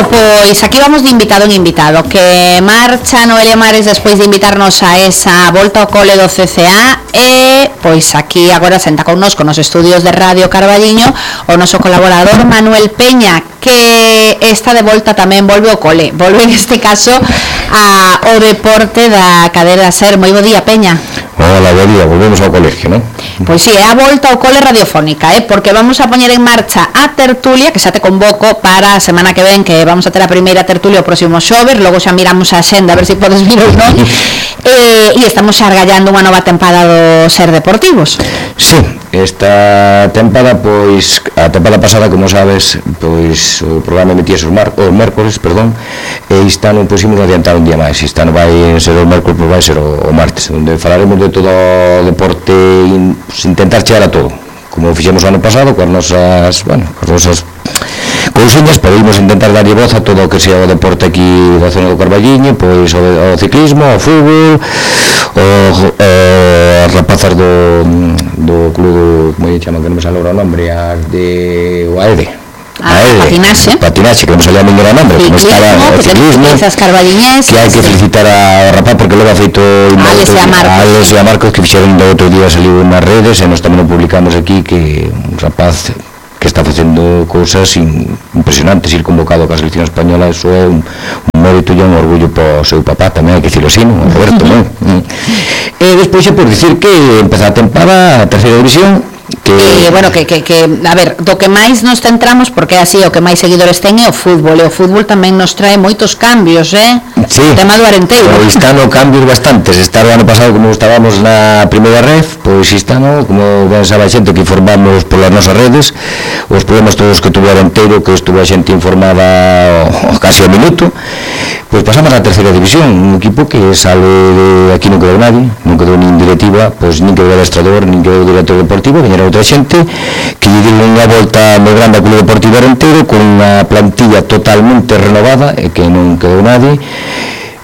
pois aquí vamos de invitado en invitado, que marcha Noelia Mares despois de invitarnos a esa volta ao cole do CCA e pois aquí agora senta connosco nos estudios de Radio Carballiño o noso colaborador Manuel Peña, que está de volta tamén, volve ao cole, volve en este caso ao deporte da cadena SER. Moi bo día, Peña. Hola, bo día, volvemos ao colegio, non? Pois si, é a volta ao cole radiofónica, porque vamos a poñer en marcha a tertulia, que xa te convoco para a semana que ven, que vamos a ter a primeira tertulia o próximo xoves, logo xa miramos a xenda a ver se podes vir ou non, e estamos xa argallando unha nova tempada do SER Deportivos. Sí, esta tempada, pois, a tempada pasada, como sabes, pois, o programa emitíase os mércores, e este ano pusimos adiantar un día máis. Este ano vai ser o mércores, pois vai ser o martes, onde falaremos de todo o deporte, intentar chegar a todo, como fixemos o ano pasado, coas nosas cousiñas, podemos intentar darlle voz a todo o que sea o deporte aquí da zona do Carballiño, pois o ciclismo, o fútbol, as rapazas do club, como lle chaman, que non me sale o nombre, as de o AEDE. Patinaxe, que non salía ningún nombre, como estaba o ciclismo, que hai que felicitar a rapaz porque logo ha feito Alex e a Marcos, que fixeron do outro día, saliu nas redes e nós tamén o publicamos aquí, que un rapaz que está facendo cousas impresionantes, ir convocado ca selección española, eso é un mérito e un orgullo para o seu papá, tamén hai que dicirlo así, non? Roberto, non? E despois é por dicir que empeza a tempada a terceira división, bueno, que a ver, do que máis nos centramos, porque é así, o que máis seguidores ten é o fútbol, e o fútbol tamén nos trae moitos cambios, Sí, o tema do Arenteiro. Pois este ano cambios bastantes. Este ano pasado, como estábamos na primeira ref, pois este ano, como ben sabe a xente que informamos polas nosas redes, os problemas todos que tuvo Arenteiro, que estuvo a xente informada casi ao minuto, pois pasamos á terceira división, un equipo que sale de aquí, non quedou nadie, non quedou nin directiva, pois nin quedou adestrador, nin quedou director deportivo, veñera outra xente que lle deu unha volta moi grande ao Club Deportivo Arenteiro con unha plantilla totalmente renovada e que non quedou nadie.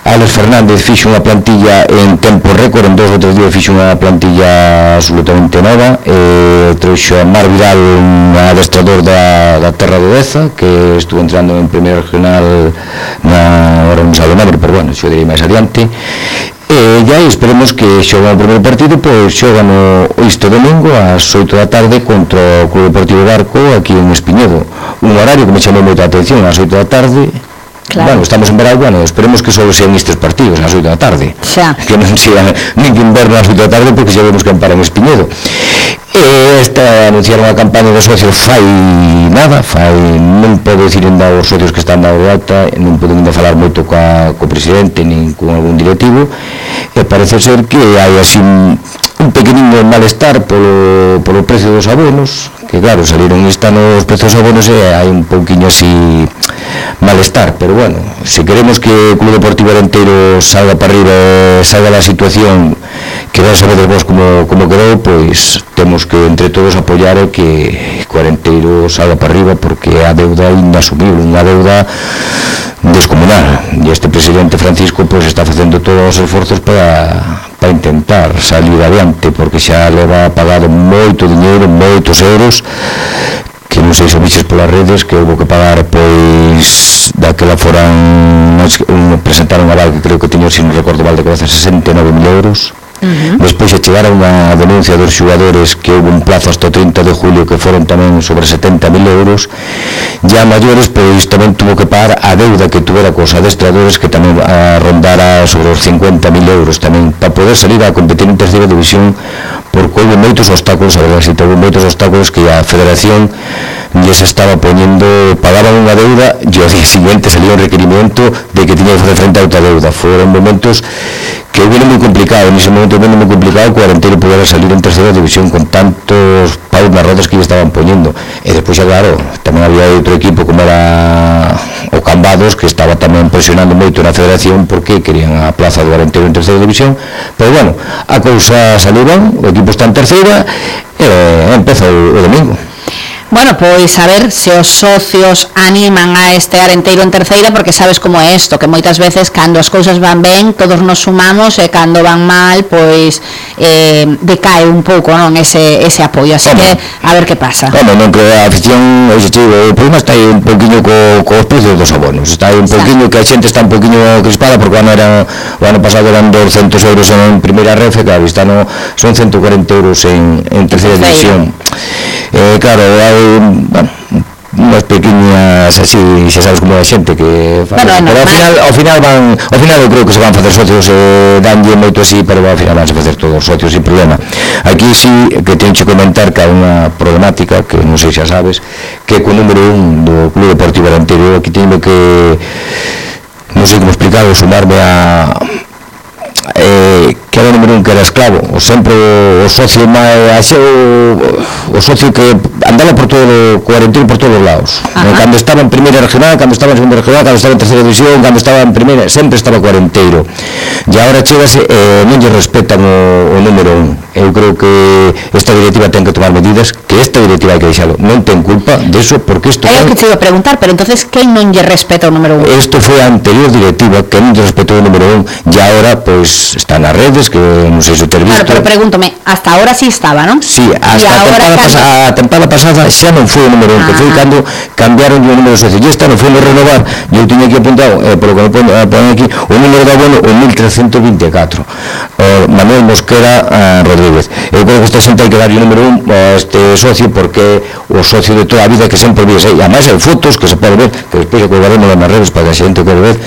Alex Fernández fixo unha plantilla en tempo récord, en 2 ou 3 días fixo unha plantilla absolutamente nova, trouxo a Mar Vidal, un adestrador da terra de Deza, que estuvo entrando en primeira regional ahora non sabe o nombre, pero bueno, xo direi máis adiante. E aí esperemos que xogan o primeiro partido, pois xogan este domingo ás 8 da tarde contra o Club Deportivo Barco aquí en Espiñedo, un horario que me chamou moita atención, ás 8 da tarde. Claro. Bueno, estamos en verano, bueno, esperemos que só sean estes partidos ás 8 da tarde, que non sean nin que inverno ás 8 da tarde, porque xa vemos que amparan Espiñedo. Anunciaron a campaña dos socios non podo dicir ainda aos socios que están dando alta, non poden ainda falar moito co presidente nin con algún directivo, e parece ser que hai así un pequenino malestar polo precio dos abonos, que claro, saliron este ano os prezos dos abonos e hai un pouquiño así malestar, pero bueno, se queremos que o Club Deportivo Arenteiro salga para arriba e salga da situación que ben sabedes vos como quedou, pois temos que entre todos apoiar e que o Arenteiro salga para arriba, porque a deuda é inasumible, unha deuda descomunal, e este presidente Francisco pois está facendo todos os esforzos para intentar salir adiante, porque xa leva pagado moito diñeiro, moitos euros, que non sei se viches polas redes, que houve que pagar, pois daquela foran presentaron a val que creo que tiño, se non recordo mal, de cabeza 69.000 euros. Despois se chegaron a denuncia dos xogadores que houve un plazo hasta o 30 de julio que foron tamén sobre 70.000 euros, ya maiores, pois tamén tuvo que pagar a deuda que tuvera cos adestradores, que tamén rondara sobre os 50.000 euros tamén, para poder salir a competir en terceira división, porque houve moitos obstáculos, a verdade, houve moitos obstáculos que a federación lles estaba poñendo, pagaban unha deuda e ao día siguiente salía un requerimento de que tiña que facer frente a outra deuda. Foron momentos que houve moi complicado, nese momento houve moi complicado que o Arenteiro pudera salir en terceira división con tantos paus nas rodas que lle estaban poñendo. E despois, claro, tamén había outro equipo como era o Cambados, que estaba tamén presionando moito na federación porque querían a plaza do Arenteiro en terceira división, pero bueno, a cousa saliu ben, o equipo está en terceira e empeza o domingo. Bueno, pois a ver se os socios animan a este arenteiro en terceira, porque sabes como é isto, que moitas veces cando as cousas van ben todos nos sumamos e cando van mal pois decae un pouco, non, ese apoio, así que a ver que pasa. Non creo a afición, o problema está aí un pouquiño cos precios dos abonos, está aí un pouquiño que a xente está un pouquiño crispada, porque o ano pasado eran 200 euros en primeira refe, claro, este ano son 140 euros en terceira división. Claro, hai unhas pequeñas así, xa sabes como é a xente que pero ao final eu creo que se van facer socios, danlle moito así, pero ao final van a facer todos socios sin problema. Aquí sí que teño que comentar que hai unha problemática que non sei xa sabes, que co número 1 do Club Deportivo Arenteiro aquí teño que non sei como explicarlo, sumarme a que era o número 1 que era esclavo, o sempre o socio o socio que andaba por todo o Arenteiro por todos os lados. Cando estaba en primeira regional, cando estaba en segunda regional, cando estaba en terceira división, cando estaba en primeira, sempre estaba co Arenteiro. E agora chegase, non lle respetan o número 1. Eu creo que esta directiva ten que tomar medidas, que esta directiva hai que deixalo, non ten culpa deso, porque isto é o que te iba a preguntar, pero entonces quen non lle respeta o número 1? Isto foi a anterior directiva que non lle respetou o número 1 e agora pois está nas redes, que non sei se ter visto. Claro, pero pregúntome, hasta ahora sí estaba, non? Sí, hasta a tempada pasada xa non foi o número 1, que foi cando cambiaron o número de socios. E esta non foi renovar, eu tiña aquí apuntado, polo que me ponen aquí, o número de abono, o 1324. Manuel Mosquera Rodríguez. Eu creo que esta xente hai que darlle o número 1 a este socio, porque o socio de toda a vida que sempre vives aí. Ademais hai fotos que se pode ver, que despois colgaremos nas redes para que a xente quere ver,